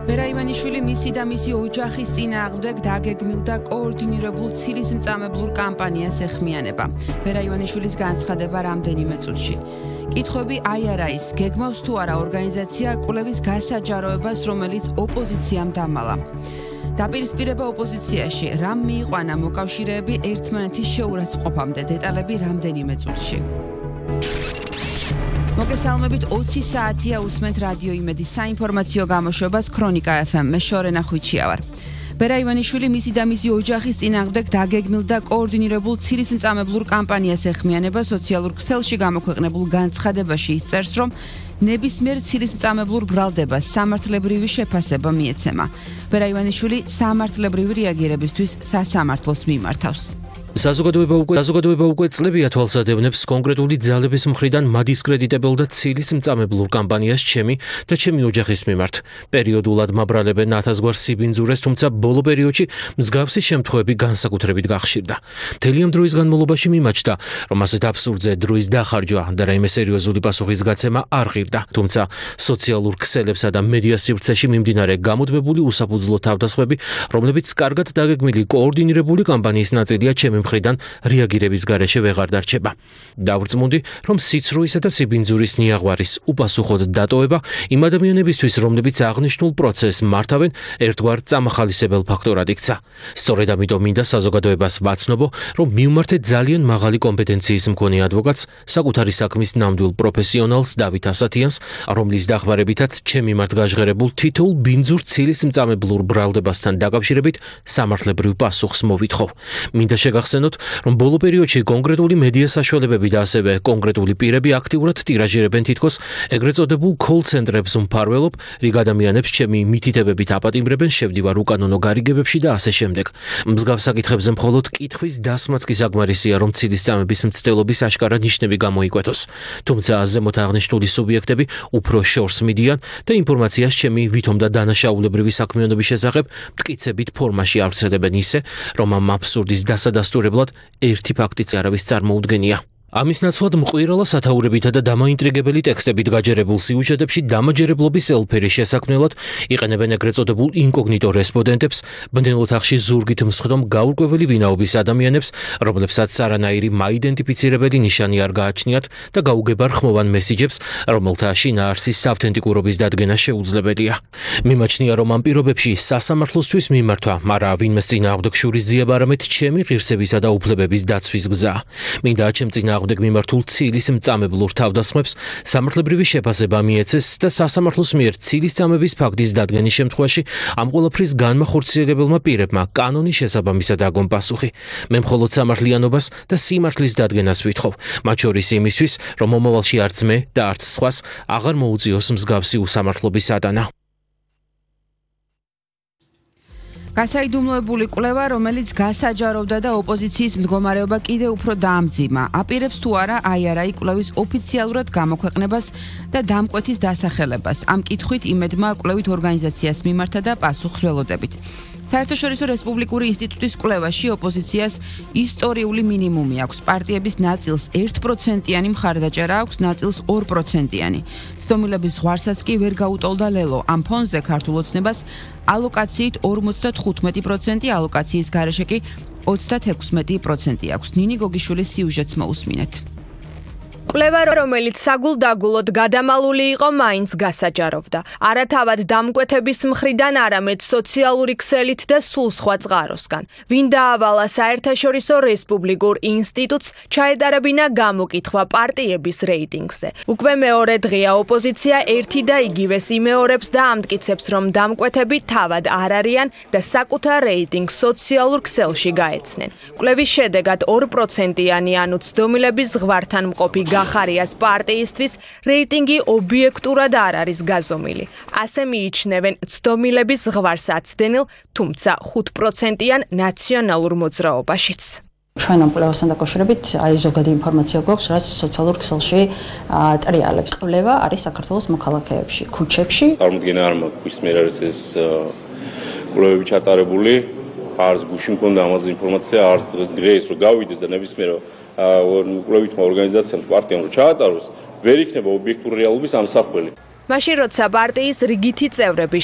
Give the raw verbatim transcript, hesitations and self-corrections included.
ვერა ივანიშვილი მისი და მისი ოჯახის წინააღმდეგ დაგეგმილ და კოორდინირებულ ცილისმწამებლურ კამპანიას ეხმიანება. ვერა ივანიშვილის განცხადება რამდენიმე წუთში. კითხვები აი არა ის, გეგმავს თუ არა ორგანიზაცია კვლევის გასაჯაროებას, რომელიც ოპოზიციამ დამალა. დაპირისპირება ოპოზიციაში, რამ მიიყვანა მოკავშირეები ერთმანეთის შეურაცხყოფამდე, დეტალები რამდენიმე წუთში. მოგესალმებით, ოცი საათია უსმენთ რადიო იმედის საინფორმაციო გამოშვებას ქრონიკა ეფ ემ. მე შორენა ხვიჩია ვარ. ვერა ივანიშვილი მისი და მისი ოჯახის წინააღმდეგ დაგეგმილ და კოორდინირებულ ცილისმწამებლურ კამპანიას ეხმიანება. სოციალურ ქსელში გამოქვეყნებულ განცხადებაში ისწერს, რომ ნებისმიერ ცილისმწამებლურ ბრალდებას სამართლებრივი შეფასება მიეცემა. ვერა ივანიშვილი სამართლებრივი რეაგირებისთვის სასამართლოს მიმართავს. საზოგადოება უკვე საზოგადოება უკვე წლებია თვალსადევნებს კონკრეტული ძალების მხრიდან მადისკრედიტებელ და ცილისმწამებლურ კამპანიას ჩემი და ჩემი ოჯახის მიმართ. პერიოდულად მაბრალებენ ათასგვარ სიბინძურეს, თუმცა ბოლო პერიოდში მსგავსი შემთხვევები განსაკუთრებით გახშირდა. მთელი ამ დროის განმავლობაში მიმაჩნდა, რომ ასეთ აბსურდზე დროის დახარჯვა და რაიმე სერიოზული პასუხის გაცემა არ ღირდა. თუმცა სოციალურ ქსელებსა და მედია სივრცეში მიმდინარე გამუდმებული უსაფუძვლო თავდასხმები, რომლებიც კარგად დაგეგმილი კოორდინირებული კამპანიის ნაწილია, ჩემი მხრიდან რეაგირების გარეშე ვეღარ დარჩება. დავრწმუნდი, რომ სიცრუისა და სიბინძურის ნიაღვარის უპასუხოდ დატოვება იმ ადამიანებისთვის, რომლებიც აღნიშნულ პროცესს მართავენ, ერთგვარ წამახალისებელ ფაქტორად იქცა. სწორედ ამიტომ მინდა საზოგადოებას ვაცნობო, რომ მივმართეთ ძალიან მაღალი კომპეტენციის მქონე ადვოკატს, საკუთარი საქმის ნამდვილ პროფესიონალს დავით ასათიანს, რომლის დახმარებითაც ჩემ მიმართ გაჟღერებულ თითოეულ ბინძურ ცილისმწამებლურ ბრალდებასთან დაკავშირებით სამართლებრივ პასუხს მოვითხოვ. მინდა შეგახსენოთ, რომ ბოლო პერიოდში კონკრეტული მედია საშუალებები და ასევე კონკრეტული პირები აქტიურად ტირაჟირებენ თითქოს ეგრეთ წოდებულ კოლ-ცენტრებს უმფარველობ, რიგ ადამიანებს ჩემი მითითებებით აპატიმრებენ, შევდივარ უკანონო გარიგებებში და ასე შემდეგ. მსგავს საკითხებზე მხოლოდ კითხვის დასმაც კი საკმარისია, რომ ცილისწამების მცდელობის აშკარა ნიშნები გამოიკვეთოს. თუმცა ზემოთ აღნიშნული სუბიექტები უფრო შორს მიდიან და ინფორმაციას ჩემი ვითომ და დანაშაულებრივი საქმიანობის შესახებ მტკიცებით ფორმაში ავრცელებენ ისე, რომ ამ აბსურდის დასადასტურებლად ერთი ფაქტიც არავის წარმოუდგენია. ამის ნაცვლად მყვირალა სათაურებითა და დამაინტრიგებელი ტექსტებით გაჯერებულ სიუჟეტებში დამაჯერებლობის ელფერი შესაქმნელად იყენებენ ეგრეთ წოდებულ ინკოგნიტო რესპონდენტებს, ბნელ ოთახში ზურგით მსხდომ გაურკვეველი ვინაობის ადამიანებს, რომლებსაც არანაირი მაიდენტიფიცირებელი ნიშანი არ გააჩნიათ და გაუგებარ ხმოვან მესიჯებს, რომელთა შინაარსის ავთენტიკურობის დადგენა შეუძლებელია. მიმაჩნია, რომ ამ პირობებში სასამართლოსთვის მიმართვა, არა ვინმეს წინააღმდეგ შურისძიება, არამედ ჩემი ღირსებისა და უფლებების დაცვის გზაა. მინდა ჩემ წინააღმდეგ მიმართულ ცილისმწამებლურ თავდასხმებს სამართლებრივი შეფასება მიეცეს და სასამართლოს მიერ ცილისწამების ფაქტის დადგენის შემთხვევაში ამ ყველაფრის განმახორციელებელმა პირებმა კანონის შესაბამისად აგონ პასუხი. მე მხოლოდ სამართლიანობას და სიმართლის დადგენას ვითხოვ, მათ შორის იმისთვის, რომ მომავალში არც მე და არც სხვას აღარ მოუწიოს მსგავსი უსამართლობის ატანა. გასაიდუმლოებული კვლევა, რომელიც გასაჯაროვდა და ოპოზიციის მდგომარეობა კიდევ უფრო დაამძიმა, აპირებს თუ არა აი არა კვლევის ოფიციალურად გამოქვეყნებას და დამკვეთის დასახელებას. ამ კითხვით იმედმა კვლევით ორგანიზაციას მიმართა და პასუხს ველოდებით. საერთაშორისო რესპუბლიკური ინსტიტუტის კვლევაში ოპოზიციას ისტორიული მინიმუმი აქვს. პარტიების ნაწილს ერთ პროცენტიანი მხარდაჭერა აქვს, ნაწილს ორი პროცენტიანი. ცდომილების ზღვარსაც კი ვერ გაუტოლდა ლელო. ამ ფონზე ქართულ ოცნებას ალოკაციით ორმოცდათხუთმეტი პროცენტი, ალოკაციის გარეშე კი ოცდათექვსმეტი პროცენტი აქვს. ნინი გოგიშვილის სიუჟეტს მოусმინეთ. კვლევა, რომელიც საგულდაგულოდ გადამალული იყო, მაინც გასაჯაროვდა. არა თავად დამკვეთების მხრიდან, არამედ სოციალური ქსელით და სულ სხვა წყაროსგან. ვინ დაავალა საერთაშორისო რესპუბლიკურ ინსტიტუტს, ჩაეტარებინა გამოკითხვა პარტიების რეიტინგზე. უკვე მეორე დღეა ოპოზიცია ერთი და იგივეს იმეორებს და ამტკიცებს, რომ დამკვეთები თავად არ არიან და საკუთარ რეიტინგს სოციალურ ქსელში გაეცნენ. კვლევის შედეგად ორი პროცენტიანი, ანუ ცდომილების ზღვართან მყოფი გახარიას პარტიისთვის რეიტინგი ობიექტურად არ არის გაზომილი. ასე მიიჩნევენ ცდომილების ზღვარს აცდენილ, თუმცა ხუთ პროცენტიან ნაციონალურ მოძრაობაშიც. ჩვენ ამ კვლევასთან დაკავშირებით აი ზოგადი ინფორმაცია გვაქვს, რაც სოციალურ ქსელში ტრიალებს. კვლევა არის საქართველოს მოქალაქეებში, ქუჩებში. წარმოდგენა არ მაქვს, ვის მიერ არის ეს კვლევები ჩატარებული. არც გუში მქონდა ამაზე ინფორმაცია, არც დღეს დღეს რომ გავიდეს და ნებისმიერ კვლევითმა ორგანიზაციამ პარტიამ რომ ჩაატაროს, ვერ იქნება ობიექტური რეალობის ამსახველი. მაშინ როცა პარტიის რიგითი წევრები